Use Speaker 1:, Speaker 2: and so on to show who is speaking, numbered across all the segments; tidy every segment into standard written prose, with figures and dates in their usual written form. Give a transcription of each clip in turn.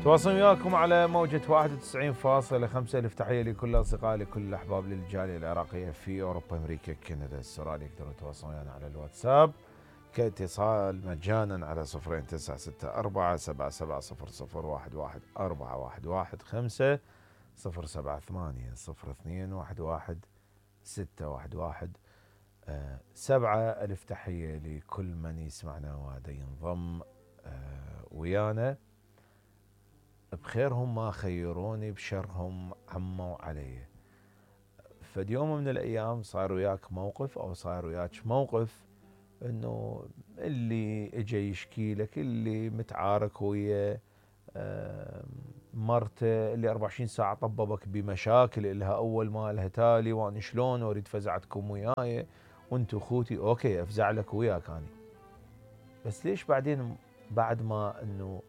Speaker 1: تواصل وياكم على موجة 91.5. ألف تحية لكل الأصدقاء لكل الأحباب للجالية العراقية في أوروبا أمريكا كندا استراليا. يقدروا يتواصلون ويانا على الواتساب كاتصال مجانا على 02964770011415 078 021 ألف تحية لكل من يسمعنا وهذا ينضم ويانا. بخيرهم ما خيروني بشرهم عموا علي. فد يوم من الأيام صار وياك موقف أو صار وياك موقف إنه اللي إجا يشكي لك، اللي متعارك ويا مرته، اللي 24 ساعة طببك بمشاكل إلها أول ما لها تالي، وأنا شلون أريد فزعتكم وياي وأنتو أخوتي. أوكي أفزع لك وياك أنا، بس ليش بعدين بعد ما إنه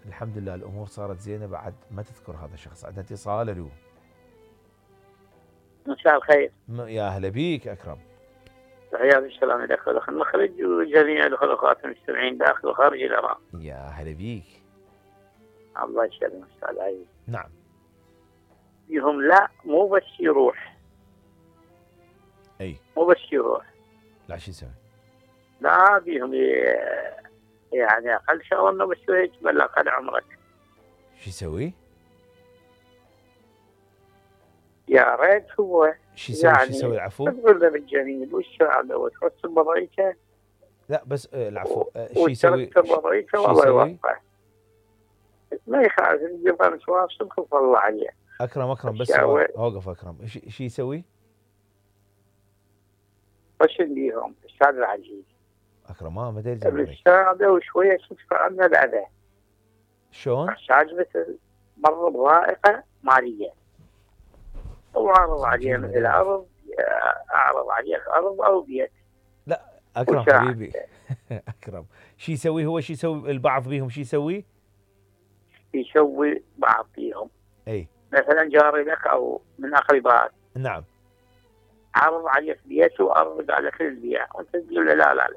Speaker 1: الحمد لله الأمور صارت زينة بعد ما تذكر هذا الشخص؟ عندنا اتصال. ألو.
Speaker 2: مساء الخير.
Speaker 1: يا هلا بيك أكرم.
Speaker 2: تحياتي بالسلام لك ولأخ المخرج وجميع الأخوات المستمعين داخل وخارج العراق.
Speaker 1: يا هلا بيك.
Speaker 2: الله يسلمك أستاذ عزيز.
Speaker 1: نعم.
Speaker 2: بيهم لا مو بس يروح.
Speaker 1: أي.
Speaker 2: مو بس يروح.
Speaker 1: لا شو يسوي؟
Speaker 2: لا بيهم يعني أقل شغلة إنه بس يجمل أقل عمرك.
Speaker 1: شو يسوي؟
Speaker 2: يا ريت هو
Speaker 1: شو يسوي؟
Speaker 2: يعني
Speaker 1: شو يسوي العفو؟
Speaker 2: تقول له بالجميل والسعادة وتحس بضيعته.
Speaker 1: لا بس العفو شو يسوي؟
Speaker 2: والله يوفقه. ما يخالف يبغى مسواك صدق والله عليه.
Speaker 1: أكرم بس اوقف أكرم. شو يسوي؟
Speaker 2: وش ليهم أستاذ العزيز؟
Speaker 1: أكرم ما ادري زين.
Speaker 2: السعادة وشوية تدفع عنه الأذى.
Speaker 1: شلون؟
Speaker 2: احتاج مثل مر بضائقة مالية. وعرض عليه مثل أرض، أعرض عليك أرض أو بيت.
Speaker 1: لا أكرم حبيبي أكرم شو يسوي هو؟ شو يسوي البعض بيهم؟ شو يسوي؟
Speaker 2: يسوي بعض فيهم.
Speaker 1: أي.
Speaker 2: مثلا جاري لك أو من أقربائك.
Speaker 1: نعم.
Speaker 2: عرض عليك بيت وأرض على كل البيع وأنت تقول له لا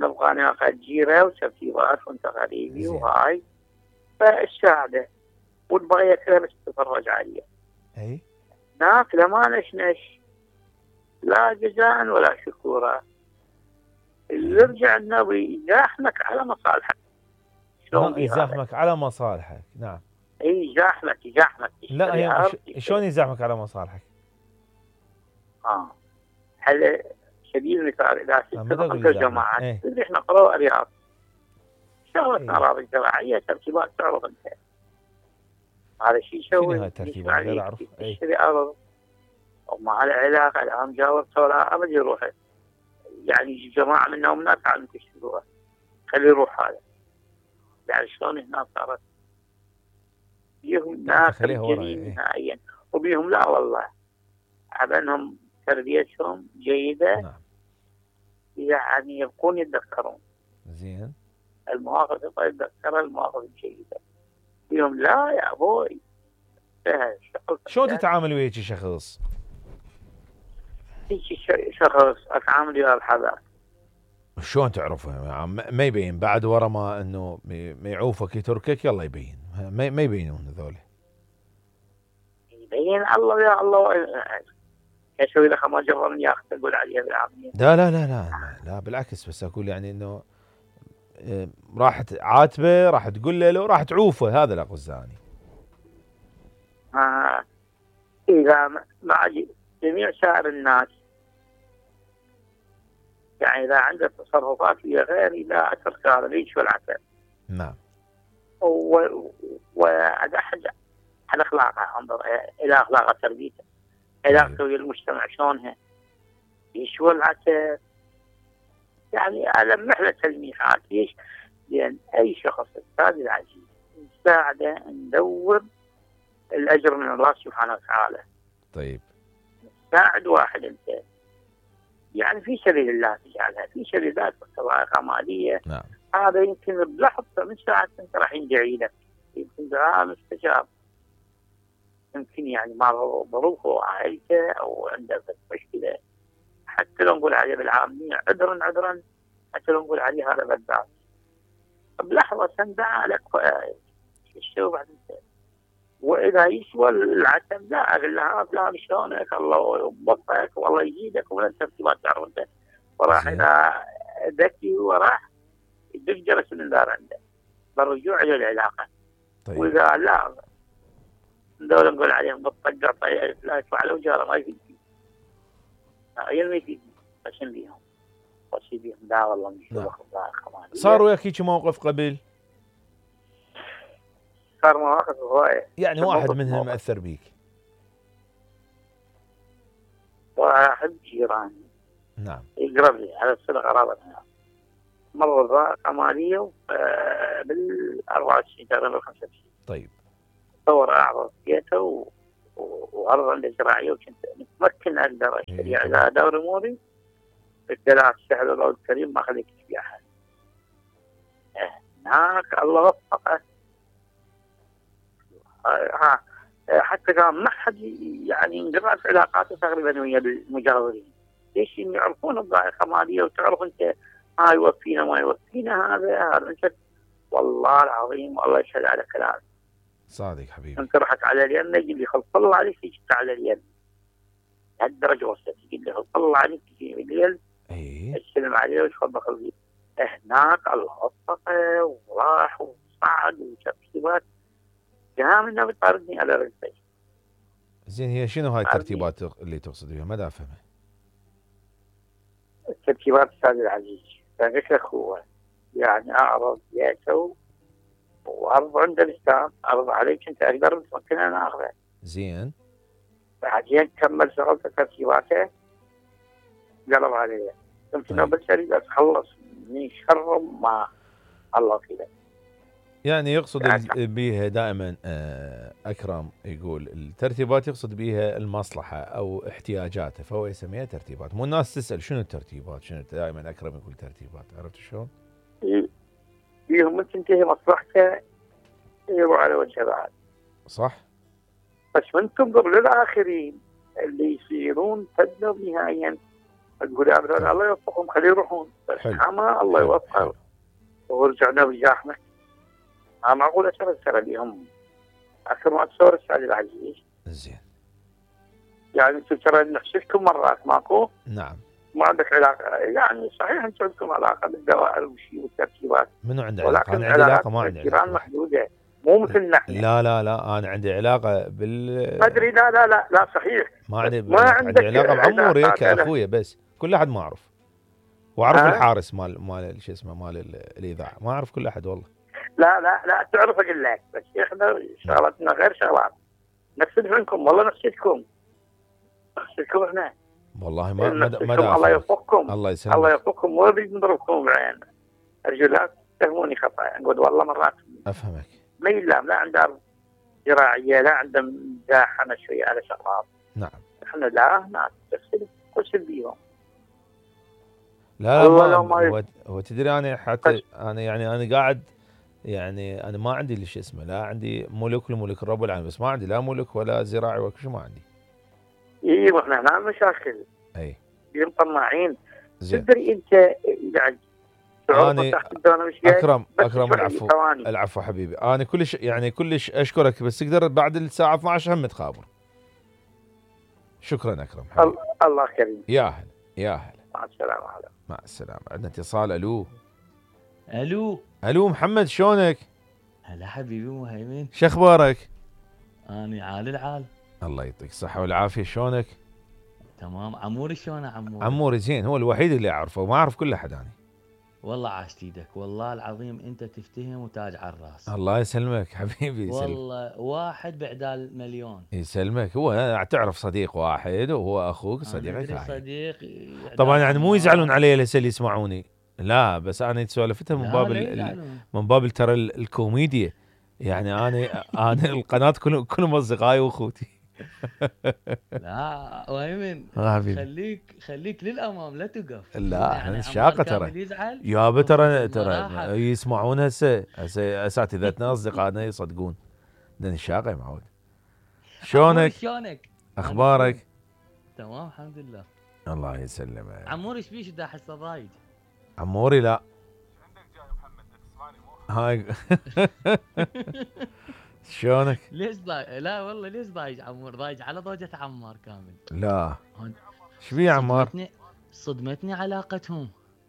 Speaker 2: نبغى ناخذ جيرة وترتيبات وأنت غريبي وهاي. فالسعادة وتبغى ياكلها بس تتفرج عليه.
Speaker 1: أي.
Speaker 2: ناكله ما نشنش لا جزاء ولا شكورا. اللي يرجع النبي يزاحمك على مصالحك.
Speaker 1: شلون يزاحمك على مصالحك؟ نعم.
Speaker 2: اي يزاحمك.
Speaker 1: لا شلون يزاحمك على مصالحك؟
Speaker 2: هل سبيل المثال اذا اتفقت الجماعات اللي احنا قرأوا الرياض شغلتنا اراضي زراعيه ترتيبات تعرض انت. هذا الشيء يسوي
Speaker 1: هاي الترتيبات غير اعرف.
Speaker 2: يشتري ارض ومع العلاقه الان جاورته لا ابد يروح. يعني جماعه منهم ناس عم تشتروها خليه يروح هذا. يعني شلون هنا صارت بيهم ناس جميل نهائيا وبيهم لا والله عبنهم تربيتهم جيده.
Speaker 1: نعم.
Speaker 2: يعني يبقون يتذكرون
Speaker 1: زين
Speaker 2: المواقف يتذكر المواقف الجيده. بيهم لا يا ابوي.
Speaker 1: شلون تتعامل ويا هيك شخص؟
Speaker 2: هيك شخص اتعامل وياه بحذر.
Speaker 1: شلون تعرفه؟ ما يبين بعد ورا ما انه ما يعوفك يتركك يلا يبين. ما يبينون هذول.
Speaker 2: يبين الله يا الله. يسوي له ما جرى من ياخذ تقول عليه بالعافيه.
Speaker 1: لا بالعكس بس اقول يعني انه راح تعاتبه راح تقول له لو راح تعوفه. هذا اللي اقصده.
Speaker 2: اذا مع جميع سائر الناس يعني اذا عنده تصرفات هي غير لا اترك هذا ليش والعسل.
Speaker 1: نعم.
Speaker 2: وهذا احد على اخلاقه انظر الى اخلاقه تربيته علاقته ويا المجتمع شلونها ليش والعسل. يعني ألمح له تلميحات. ليش؟ لأن أي شخص أستاذ العزيز نساعده ندور الأجر من الله سبحانه وتعالى.
Speaker 1: طيب.
Speaker 2: ساعد واحد أنت يعني في سبيل الله تجعلها في سبيل الله بطريقة مالية.
Speaker 1: نعم.
Speaker 2: هذا يمكن بلحظة من ساعة أنت راح يدعي لك يمكن دعاء مستجاب. يمكن يعني ما ظروفه عائلته أو عنده مشكلة حتى لو نقول عليه بالعامية عذرا حتى لو نقول عليه هذا بدعس بلحظة لحظه سندع لك شو بعد انت واذا يسوى العتم لا اقول له فلان شلونك الله يوفقك والله يزيدك ولا الترتيبات تعرف انت وراح اذا ذكي وراح يدق جرس من الدار عنده بالرجوع الى العلاقه.
Speaker 1: طيب.
Speaker 2: واذا لا دول نقول عليهم بالطقه طيب لا يفعلوا جاره ما يفيد ما يفيد بس بيهم بس بيهم لا والله مش
Speaker 1: صار وياك هيك موقف قبل؟
Speaker 2: صار مواقف هوايه
Speaker 1: يعني واحد منهم مأثر بيك؟
Speaker 2: واحد جيراني
Speaker 1: نعم
Speaker 2: يقرب لي على الصله قرابتنا مر ضائقه ماليه بال 24 تقريبا 25.
Speaker 1: طيب.
Speaker 2: تصور اعرض بيته وارض عنده زراعيه وكنت متمكن اقدر اشتري على دوري موري بالثلاث سهل الله الكريم ما خليك في احد. هناك الله وفقه حتى كان ما حد يعني انقطعت علاقاته تقريبا ويا المجاورين. ليش يعرفون الضائقه ماليه وتعرف انت ما يوفينا ما يوفينا هذا انت والله العظيم والله يشهد على كلامك.
Speaker 1: صادق حبيبي.
Speaker 2: انت رحت على اليم يجي لي خلص الله عليك تجي على اليم. لهالدرجه وصلت يجي لي خلص الله عليك تجي الليل. السلام عليه وتفضل خلصي. هناك الله وفقه وراح وصعد وشاف كتابات قام انه بيطاردني على رجلي.
Speaker 1: زين هي شنو هاي الترتيبات اللي تقصد بها؟ ما دا افهمها.
Speaker 2: الترتيبات استاذ العزيز قلت لك هو يعني اعرض بيته وارض عند الاسلام ارض عليك انت اقدر ممكن انا اخذه.
Speaker 1: زين.
Speaker 2: بعدين كمل شغل ترتيباته قلب علي قلت له بس اريد اتخلص من شر ما الله كذا.
Speaker 1: يعني يقصد بيها دائما اكرم يقول الترتيبات يقصد بيها المصلحه او احتياجاته فهو يسميها ترتيبات. مو الناس تسال شنو الترتيبات شنو دائما اكرم يقول ترتيبات. عرفت شلون؟
Speaker 2: فيهم تنتهي مصلحته يروح على وجه بعد.
Speaker 1: صح.
Speaker 2: بس من تنظر للاخرين اللي يصيرون تدمر نهائيا تقول ابدا الله يوفقهم خليه يروحون بس حما الله يوفقهم ورجعنا بزحمه. ما معقول ترى بيهم اكثر ما تصور استاذ العزيز.
Speaker 1: زين.
Speaker 2: يعني انتم ترى نحسدكم مرات ماكو؟
Speaker 1: نعم.
Speaker 2: ما عندك علاقه يعني صحيح انتم عندكم علاقه بالدوائر والشيء والترتيبات.
Speaker 1: منو عنده علاقه؟ انا عندي علاقه ما عندي
Speaker 2: علاقه محدوده مو مثل نحن.
Speaker 1: لا انا عندي علاقه
Speaker 2: ادري لا صحيح
Speaker 1: ما عندي علاقه بعموري كاخويا بس كل احد ما اعرف واعرف الحارس مال شو اسمه مال الاذاعه ما اعرف كل احد والله.
Speaker 2: لا تعرف اقول لك بس احنا شغلتنا غير شغلات نحسد منكم والله نحسدكم احنا
Speaker 1: والله ما
Speaker 2: الله يوفقكم
Speaker 1: الله يسلمك
Speaker 2: الله يوفقكم مو بنضربكم بعين ارجو لا تفهموني خطا نقول والله مرات
Speaker 1: افهمك
Speaker 2: ما يلام لا عنده زراعيه لا عنده مزاحمه شويه على شغلات.
Speaker 1: نعم.
Speaker 2: احنا لا ناس تغسل بيهم.
Speaker 1: لا هو تدري انا حتى انا يعني انا قاعد يعني انا ما عندي اللي شو اسمه لا عندي ملك لملك رب العالمين بس ما عندي لا ملك ولا زراعي ولا شيء ما عندي.
Speaker 2: ايوه احنا هنا مشاكل.
Speaker 1: اي.
Speaker 2: مطمعين. تدري انت يعني
Speaker 1: اكرم العفو حبيبي انا كلش اشكرك بس تقدر بعد الساعه 12 هم تخابر. شكرا اكرم حبيبي.
Speaker 2: الله كريم.
Speaker 1: يا هلا
Speaker 2: مع السلامه.
Speaker 1: مع السلامه. عندنا اتصال.
Speaker 3: الو
Speaker 1: محمد شلونك؟
Speaker 3: هلا حبيبي مهيمن
Speaker 1: شو اخبارك؟
Speaker 3: اني عال العال.
Speaker 1: الله يعطيك الصحه والعافيه. شلونك؟
Speaker 3: تمام. عموري شلونه
Speaker 1: عموري زين هو الوحيد اللي اعرفه وما اعرف كل احد انا.
Speaker 3: والله عاشت ايدك والله العظيم انت تفتهم وتاج على الراس.
Speaker 1: الله يسلمك حبيبي يسلمك.
Speaker 3: والله واحد بعدال مليون.
Speaker 1: يسلمك. هو تعرف صديق واحد وهو اخوك صديقك واحد.
Speaker 3: صديق
Speaker 1: طبعا يعني مو يزعلون علي هسه اللي يسمعوني لا بس انا سولفتها من باب ترى الكوميديا يعني انا القناه كلهم اصدقائي واخوتي.
Speaker 3: لا ويمن خليك للامام لا توقف.
Speaker 1: لا يعني شاقه ترى يابا ترى يسمعون هسه اساتذتنا اصدقائنا يصدقون. دني شاقه يا معود. شلونك؟ اخبارك؟
Speaker 3: تمام الحمد لله.
Speaker 1: الله يسلمك.
Speaker 3: عموري ايش بيش دا حسه ضايج؟
Speaker 1: عموري لا هاي شلونك؟
Speaker 3: ليش لا والله ليش ضايج عمور؟ ضايج على ضوجة عمار كامل.
Speaker 1: لا
Speaker 3: هون
Speaker 1: ايش بيه عمار؟
Speaker 3: صدمتني علاقتهم.